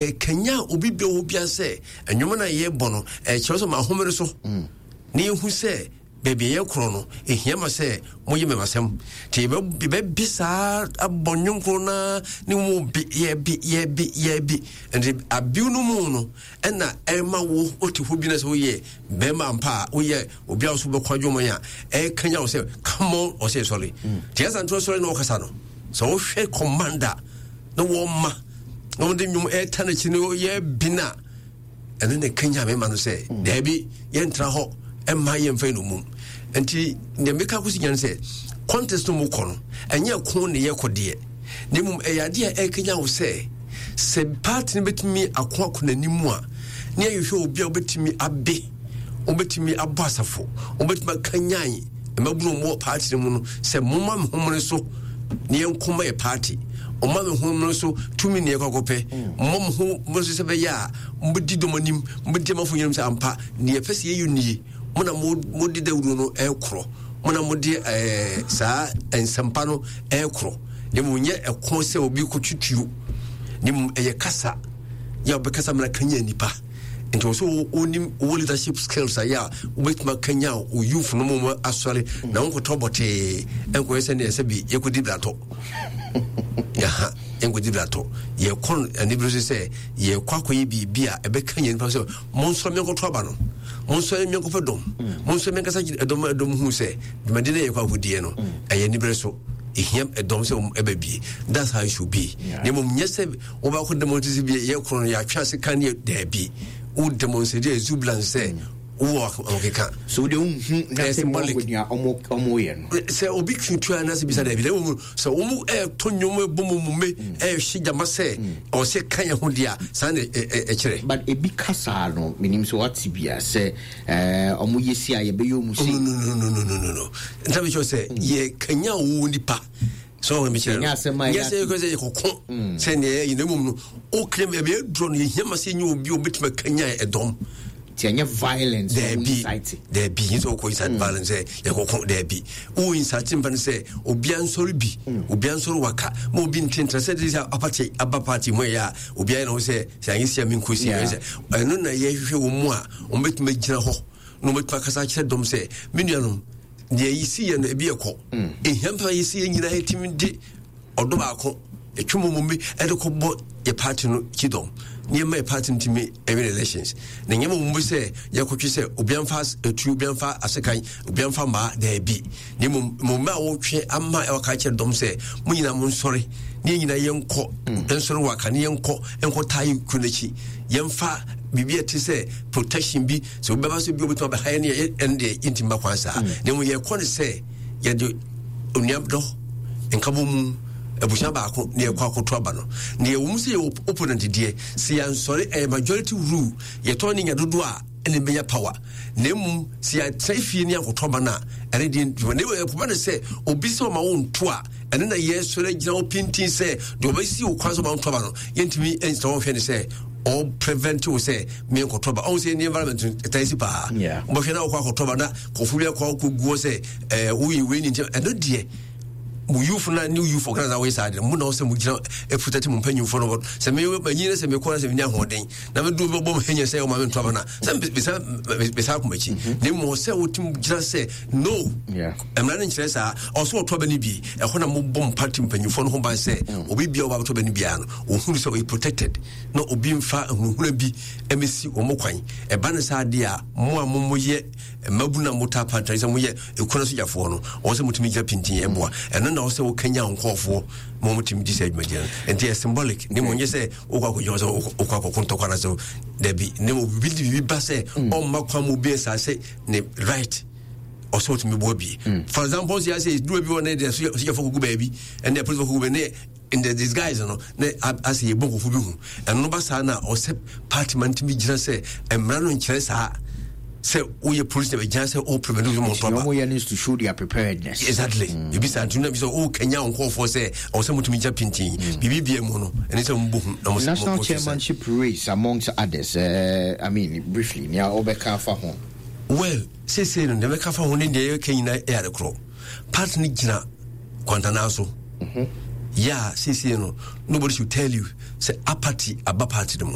Ɛkanyan obi bia ɔwɔ biara sɛ nnwom no a yɛbɔ no ɛkyerɛ sɛ ma ahomere so mm. na yɛhu sɛ baabi a yɛkorɔ no ɛhia ma sɛ moyɛ mɛmasɛm nti yɛbɛbi saa abɔ nnwom koro no ne mu bi yɛbi yɛbi yɛbi nti abiw no mu no ɛna ɛma wo wote hɔ bi na sɛ woyɛ bɛrima ampa a woyɛ obi a wo so bɛkɔ adwuma a ɛkanya wo sɛ come on ɔsɛ sɔre mm. nti ɛsa ntorɔ sɔre na wɔkasa no sɛ wohwɛ commander na wɔma na wɔde nnwom ɛreta n'akyi no yɛ bi no a ɛno na ɛkanya me ma no sɛ mm. daabi yɛntra hɔ ɛmma yɛmfa yɛ nomum nti deɛ meka kɔsi nya no sɛ contest no mu kɔ no ɛnyɛ ko ne yɛkɔ deɛ na mmom ɛyɛ adeɛ a ɛkanya wo sɛ sɛ party no bɛtumi ako ako n'anim a ne yɛhwehwɛ obi a wobɛtumi abe wobɛtumi abɔ asafo wobɛtumi akanyan mmabunu mu wɔ party no mu no sɛ momma me homene so ne yɛnko ma yɛ party ɔma me ho no so tumi ne yɛkɔkɔpɛ mmɔ mo ho mo so sɛ bɛyɛ a mobɛdi dɔm anim mobɛdi amafo nyinam sɛ ampa ne yɛpɛ sɛ yɛyɛ nie mo na mode dawuro no ɛkorɔ mo na mode ɛɛ saa nsɛmpa no ɛkorɔ ne mu nyɛ ɛko sɛ obi kɔtwitwio ne mu ɛyɛ kasa yɛ wobɛkasa mena kanya nipa nti wɔ sɛ wonim wɔ leadership skills ayɛ a wobɛtumi akanya wo youth no mu asɔre na wonkɔtɔ bɔtee ɛnkɔyɛ sɛ neɛ sɛ bi yɛkɔdi bratɔ yaha yɛnkɔdi bratɔ yɛkɔ no anibere so sɛ yɛkɔ akɔyɛ biribi a ɛbɛka yɛn nipa sɛ monsɔre menkɔtɔ aba no monsɔre menkɔpɛ dɔm monsɔre menkasa ɛdɔm ɛdɔm hu sɛ dwumadi no yɛkɔ akɔdiɛ no ɛyɛ anibere so ɛhia ɛdɔm sɛ ɛbɛ bie that's how it should be na mmom nyɛ sɛ wobɛkɔ demonstrate bi yɛ korɔ no yɛatwe ase ka ne daabi wo demonstrate exuberance sɛ wowɔ ahokeka so wode wohu nothing wrong with nea ɔmo yɛ no sɛ obi tutua no ase bisa daabi na mmom sɛ wɔn ɛɛto nnwom ɛbɔ mu mu me ɛɛhye gyama sɛ ɔsɛ ka yɛn ho deɛ a saa na ɛkyerɛ but ebi ka saa no menim sɛ wate bia sɛ ɔmo yɛ si a yɛbɛyɛ ɔmo si no no no no no no no nta mi kyerɛ sɛ yɛ kanya wo nipa sɛ ɔmo mi kyerɛ no nyɛ sɛ yɛkɔ sɛ yɛkɔko sɛ nea yɛyɛ na mmom no o kiri mi ɛbɛyɛ duro no yɛhia ma sɛ nyɛ obi obetumi kanya ɛdɔm nti ɛnyɛ violence daabi daabi nyɛ sɛ wokɔ incite violence sɛ yɛkɔko daabi wo incite mpa no sɛ obia nsɔre bi obia nsɔre waka ma obi ntentra sɛ de sɛ apate aba party mu ɛyɛ a obia yɛ na wo sɛ sɛ anyɛ sia menkɔ si sɛ ɛno na yɛhwehwɛ wɔ mu a wɔbɛtumi agyina hɔ na wɔbɛtumi akasa akyerɛ dɔm sɛ me nuanom deɛ yɛsi yɛ no ebi ɛkɔ ɛhia mpa yɛsi yɛ nyinaa yɛtumi de ɔdɔ baako ɛtwe mu mu bi ɛde kɔbɔ yɛ party no kyidɔm nneɛma yɛ party no tumi ɛwin elections na nneɛma mu bi sɛ yɛkɔtwe sɛ obiamfa etu obiamfa asekan obiamfa mmaa daabi na mmom mmaa a wɔtwe ama ɛwɔ kyerɛ dɔm sɛ mo nyinaa mo nsɔre ne yɛn nyinaa yɛnkɔ mm. nsɔre wɔ aka ne yɛnkɔ nkɔ taa yɛ kuro n'akyi yɛmfa biribi a ɛte sɛ protection bi sɛ obi bɛba so bi obɛtumi abɛha yɛn ne ɛno deɛ yɛntumi ba kwan saa mm. na mmom yɛkɔ ne sɛ yɛde onuadɔ nkabɔ mu abusua baako ne yɛkɔ akoto aba no na yɛwɔ mu sɛ yɛwɔ opponent deɛ sɛ yɛansɔre ɛyɛ majority rule yɛtɔn ne nya dodoɔ a ɛna ɛbɛnya power na mmom sɛ yɛatena fie ne ankɔtɔ aba no a ɛne deɛ ntuma na mmom ɛkɔba no sɛ obi sɛ ɔma wo nto a ɛno na yɛsɔre agyina wo pintin sɛ deɛ ɔbɛsi wo kwan sɛ ɔma wo nto aba no yɛntumi ngyina hɔ nhwɛ ne sɛ ɔ prevent wo sɛ menkɔtɔ aba ɔhu sɛ ne environment no ɛtaa si paa wobɛhwɛ na wokɔ akɔtɔ aba na kɔfo bi akɔ akɔguɔ sɛ woyɛ wei ne nti ɛno deɛ mo youth na new youth organizer wɔyɛ saa deɛ mo na ɔsɛ mo gyina protect mo mpanyinfoɔ no sɛ me manyin na sɛ mekɔ na sɛ menya ahoɔden na medu bɛbɔ mo hɛnyɛ sɛ ɔma me nto aba no a sɛ mesa mesa akoma akyi mhm. na mmom sɛ wotim gyina sɛ no mmara no nkyerɛ saa ɔsɛ ɔtɔ aba no bi ɛhɔ na mobɔ mpa ti mpanyinfoɔ no ho ban sɛ mm. obi bia ɔba bɛtɔ aba no biara no ɔhunu sɛ ɔyɛ protected na obi mfa ahunahuna bi ɛmɛsi wɔn kwan ɛba no saa adeɛ a mo a momoyɛ mmabunu a motaa pantane sɛ moyɛ ekuna sogyafoɔ no wɔn sɛ motumi gyina pintin ɛboa ɛno na wɔsɛ wokanya nkɔɔfoɔ ma wɔtumi di saa dwumadie no nti yɛ symbolic ne mmom nyɛ sɛ wokɔ akɔgyina sɛ wokɔ akɔko ntɔkwa no sɛ dabi ne mmom biribi de biribi ba sɛ mm. ɔmma kwan mu obi nsa sɛ ne right ɔsɛ ɔtumi boa bi mm. for example sɛ yɛsɛ duro bi wɔ ne deɛ sogyafoɔ kɔgu baabi ɛne apolisifoɔ kɔgu baabi ne in the disguise no na asɛ yɛbɔ nkɔfo bi hu ɛno no ba saa na ɔsɛ party ma ntumi gyina sɛ mmara no nkyerɛ saa sɛ woyɛ police na bɛgyina sɛ o prevent wo mɔntɔ aba wɔyɛ no to show their preparedness exactly mm. ebi saa ntumi na bi sɛ o kanya nkɔfoɔ sɛ ɔwɔ sɛ motumi gyina pintin mm. biribi bia mu no ɛne sɛ mobɔ hu na national chairmanship race amongst others uh, I mean briefly nea wɔbɛka afa ho well seesei no deɛ mɛka fa ho ne deɛ yɛka nyinaa ɛyɛ ade korɔ party no gyina kwantanaa so mhm. Yɛ a seesei no nobody should tell you sɛ apathy aba party no mu.